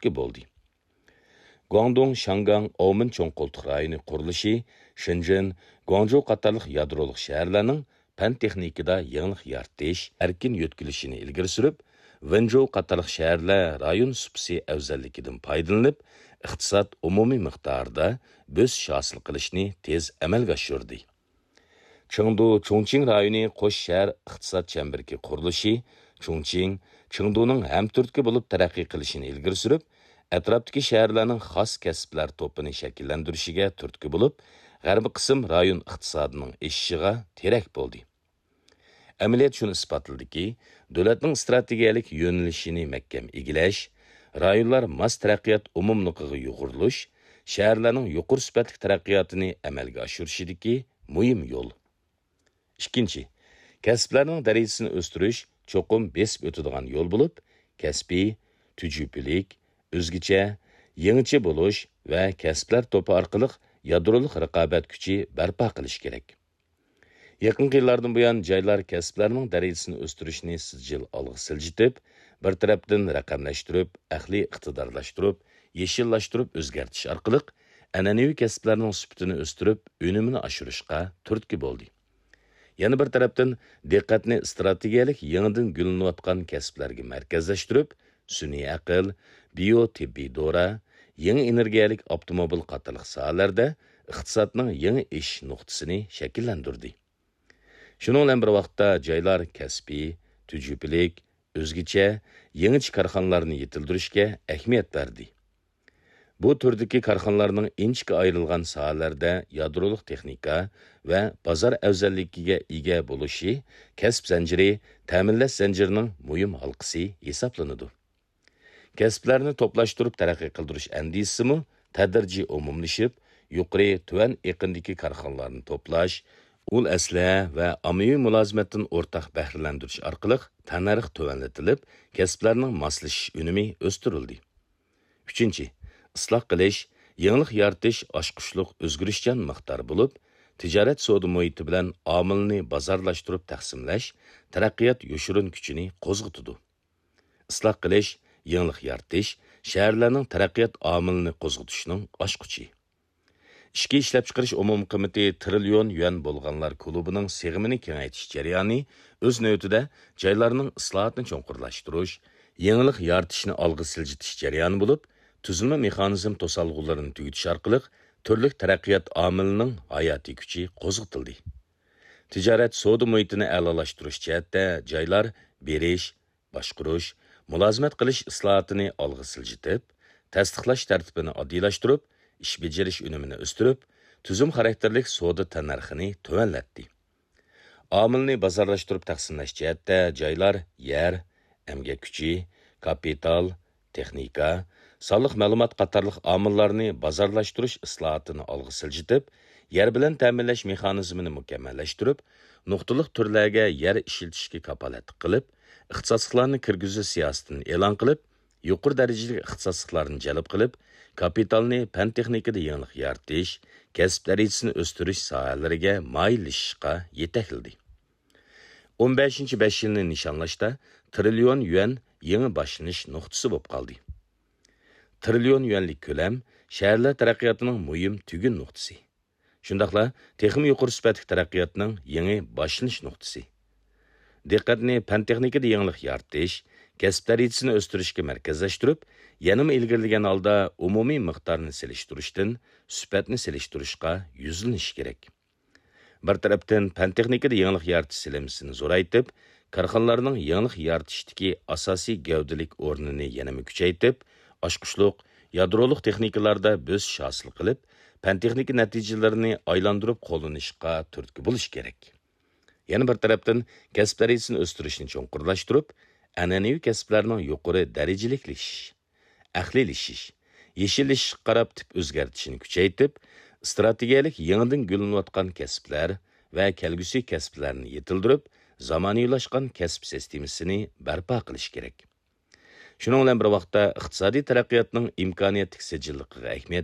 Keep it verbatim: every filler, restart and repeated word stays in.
تۈرتكە بولدى. گۇاڭدۇڭ، شياڭگاڭ، ئاۋمېن چوڭ قولتۇق رايونى قۇرۇلۇشى، شېنجېن، گۇاڭجۇ قاتارلىق يادرولۇق شەھەرلەرنىڭ پەن-تېخنىكىدا يېڭىلىق يارىتىش، ئەركىن يۆتكىلىشىنى ئىلگىرى سۈرۈپ، ۋېنجۇ قاتارلىق شەھەرلەر رايون سۇپىسى ئەۋزەللىكىدىن پايدىلىنىپ، ئىقتىساد ئومۇمىي مىقدارىدا بۆسۈش ھاسىل قىلىشنى تېز ئەمەلگە ئاشۇردى. چېڭدۇ، چۇڭچىڭ رايونى قوش شەھەر ئىقتىساد چەمبىرىكى قۇرۇلۇشى، چۇڭچىڭ، چېڭدۇنىڭ ھەمتۈرتكە بولۇپ تەرەققىي قىلىشىنى ئىلگىرى سۈرۈپ، ئەتراپتىكى شەھەرلەرنىڭ خاس كەسىپلەر توپىنى شەكىللەندۈرۈشىگە تۈرتكە بولۇپ، غەربىي قىسىم رايون ئىقتىسادىنىڭ ئېشىشىغا تىرەك بولدى. ئەمەلىيەت شۇنى ئىسپاتلىدىكى، دۆلەتنىڭ ئىستراتېگىيەلىك يۆنىلىشىنى مەھكەم ئىگىلەش، رايونلار ماس تەرەققىيات ئومۇملۇقىغا يۇغۇرۇلۇش، شەھەرلەرنىڭ يۇقىرى سۈپەتلىك تەرەققىياتىنى ئەمەلگە ئاشۇرۇشىدىكى مۇھىم يول. ئىككىنچى، كەسىپلەرنىڭ دەرىجىسىنى ئۆستۈرۈش چوقۇم بېسىپ ئۆتىدىغان يول بولۇپ، كەسپىي، تۈجۈپىلىك، ئۆزگىچە، يېڭىچە بولۇش ۋە كەسىپلەر توپى ئارقىلىق يادرولۇق رىقابەت كۈچى بەرپا قىلىش كېرەك. يېقىنقى يىللاردىن بۇيان، جايلار كەسىپلەرنىڭ دەرىجىسىنى ئۆستۈرۈشنى سىجىل ئالغا سىلجىتىپ، بىر تەرەپتىن رەقەملەشتۈرۈپ، ئەقلىي ئىقتىدارلاشتۇرۇپ، يېشىللاشتۇرۇپ ئۆزگەرتىش ئارقىلىق، ئەنئەنىۋى كەسىپلەرنىڭ سۈپىتىنى ئۆستۈرۈپ، ئۈنۈمىنى ئاشۇرۇشقا تۈرتكە بولدى. يەنە بىر تەرەپتىن، دىققەتنى ئىستراتېگىيەلىك يېڭىدىن گۈللىنىۋاتقان كەسىپلەرگە مەركەزلەشتۈرۈپ، سۈنئىي ئەقىل، بىيو تېببىي دورا، يېڭى ئېنېرگىيەلىك ئاپتوموبىل قاتارلىق ساھەلەردە ئىقتىسادنىڭ يېڭى ئېشىش نۇقتىسىنى شەكىللەندۈردى. شۇنىڭ بىلەن بىر ۋاقىتتا، جايلار كەسپىي، تۈجۈپىلىك، ئۆزگىچە، يېڭىچە كارخانىلارنى يېتىلدۈرۈشكە ئەھمىيەت بەردى. بۇ تۈردىكى كارخانىلارنىڭ ئىنچىكە ئايرىلغان ساھەلەردە يادرولۇق تېخنىكا ۋە بازار ئەۋزەللىكىگە ئىگە بولۇشى كەسىپ زەنجىرى، تەمىنلەش زەنجىرىنىڭ مۇھىم ھالقىسى ھېسابلىنىدۇ. كەسىپلەرنى توپلاشتۇرۇپ تەرەققىي قىلدۇرۇش ئەندىزىسىمۇ تەدرىجىي ئومۇملىشىپ، يۇقىرى، تۆۋەن ئېقىندىكى كارخانىلارنى توپلاش، ئۇل ئەسلىھە ۋە ئاممىۋى مۇلازىمەتتىن ئورتاق بەھرىلەندۈرۈش ئارقىلىق تەننەرخ تۆۋەنلىتىلىپ، كەسىپلەرنىڭ ماسلىشىش ئۈنۈمى ئۆستۈرۈلدى. ئۈچىنچى، ئىسلاھ قىلىش، يېڭىلىق يارىتىش ئاچقۇچلۇق ئۆزگىرىشچان مىقدار بولۇپ، تىجارەت سودا مۇھىتى بىلەن ئامىلنى بازارلاشتۇرۇپ تەقسىملەش تەرەققىيات يوشۇرۇن كۈچىنى قوزغىتىدۇ. ئىسلاھ قىلىش، يېڭىلىق يارىتىش شەھەرلەرنىڭ تەرەققىيات ئامىلىنى قوزغىتىشنىڭ ئاچقۇچى. ئىچكى ئىشلەپچىقىرىش ئومۇمىي قىممىتى تىرىليون يۈەن بولغانلار كۇلۇبىنىڭ سىغىمىنى كېڭەيتىش جەريانى ئۆز نۆۋىتىدە جايلارنىڭ ئىسلاھاتنى چوڭقۇرلاشتۇرۇش، يېڭىلىق يارىتىشنى ئالغا سىلجىتىش جەريانى بولۇپ، تۈزۈلمە مېخانىزم توسالغۇلىرىنى تۈگىتىش ئارقىلىق تۈرلۈك تەرەققىيات ئامىلىنىڭ ھاياتىي كۈچى قوزغىتىلدى. تىجارەت سودا مۇھىتىنى ئەلالاشتۇرۇش جەھەتتە جايلار بېرىش، باشقۇرۇش، مۇلازىمەت قىلىش ئىسلاھاتىنى ئالغا سىلجىتىپ، تەستىقلاش تەرتىپىنى ئاددىيلاشتۇرۇپ، ئىش بېجىرىش ئۈنۈمىنى ئۆستۈرۈپ، تۈزۈم خاراكتېرلىك سودا تەننەرخىنى تۆۋەنلەتتى. ئامىلنى بازارلاشتۇرۇپ تەقسىملەش جەھەتتە جايلار يەر، ئەمگەك كۈچى، كاپىتال، تېخنىكا، سانلىق مەلۇمات قاتارلىق ئامىللارنى بازارلاشتۇرۇش ئىسلاھاتىنى ئالغا سىلجىتىپ، يەر بىلەن تەمىنلەش مېخانىزمىنى مۇكەممەللەشتۈرۈپ، نۇقتىلىق تۈرلەرگە يەر ئىشلىتىشكە كاپالەتلىك قىلىپ، ئىختىساسلىقلارنى كىرگۈزۈش سىياسىتىنى ئېلان قىلىپ، يۇقىرى دەرىجىلىك ئىختىساسلىقلارنى جەلپ قىلىپ، كاپىتالنى پەن-تېخنىكىدا يېڭىلىق يارىتىش، كەسىپ دەرىجىسىنى ئۆستۈرۈش ساھەلىرىگە مايىللىشىشقا يېتەكلىدى. ئون بەشىنچى بەش يىلنى نىشانلاشتا تىرىليون يۈەن يېڭى باشلىنىش نۇقتىسى بولۇپ قالدى. تىرىليون يۈەنلىك كۆلەم شەھەرلەر تەرەققىياتىنىڭ مۇھىم تۈگۈن نۇقتىسى. شۇنداقلا تېخىمۇ يۇقىرى سۈپەتلىك تەرەققىياتنىڭ يېڭى باشلىنىش نۇقتىسى. دىققەتنى پەن-تېخنىكىدا يېڭىلىق يارىتىش، كەسىپ دەرىجىسىنى ئۆستۈرۈشكە مەركەزلەشتۈرۈپ، يەنىمۇ ئىلگىرىلىگەن ھالدا ئومۇمىي مىقدارنى سېلىشتۇرۇشتىن سۈپەتنى سېلىشتۇرۇشقا يۈزلىنىش كېرەك. بىر تەرەپتىن، پەن-تېخنىكىدا يېڭىلىق يارىتىش سېلىنمىسىنى زورايتىپ، كارخانىلارنىڭ يېڭىلىق يارىتىشتىكى ئاساسىي گەۋدىلىك ئورنىنى يەنىمۇ كۈچەيتىپ، ئاچقۇچلۇق، يادرولۇق تېخنىكىلاردا بۆسۈش ھاسىل قىلىپ، پەن-تېخنىكا نەتىجىلىرىنى ئايلاندۇرۇپ قوللىنىشقا تۈرتكە بولۇش كېرەك. يەنە بىر تەرەپتىن، كەسىپ دەرىجىسىنى ئۆستۈرۈشنى چوڭقۇرلاشتۇرۇپ، ئەنئەنىۋى كەسىپلەرنىڭ يۇقىرى دەرىجىلىكلىشىش، ئەقلىيلىشىش، يېشىللىشىشقا قاراپ تىپ ئۆزگەرتىشنى كۈچەيتىپ، ئىستراتېگىيەلىك يېڭىدىن گۈللىنىۋاتقان كەسىپلەر ۋە كەلگۈسى كەسىپلەرنى يېتىلدۈرۈپ، زامانىۋىلاشقان كەسىپ سىستېمىسىنى بەرپا قىلىش كېرەك. شۇنىڭ بىلەن بىر ۋاقىتتا، ئىقتىسادىي تەرەققىياتنىڭ ئىمكانىيەتلىك سىجىللىقىغا ئەھمىيەت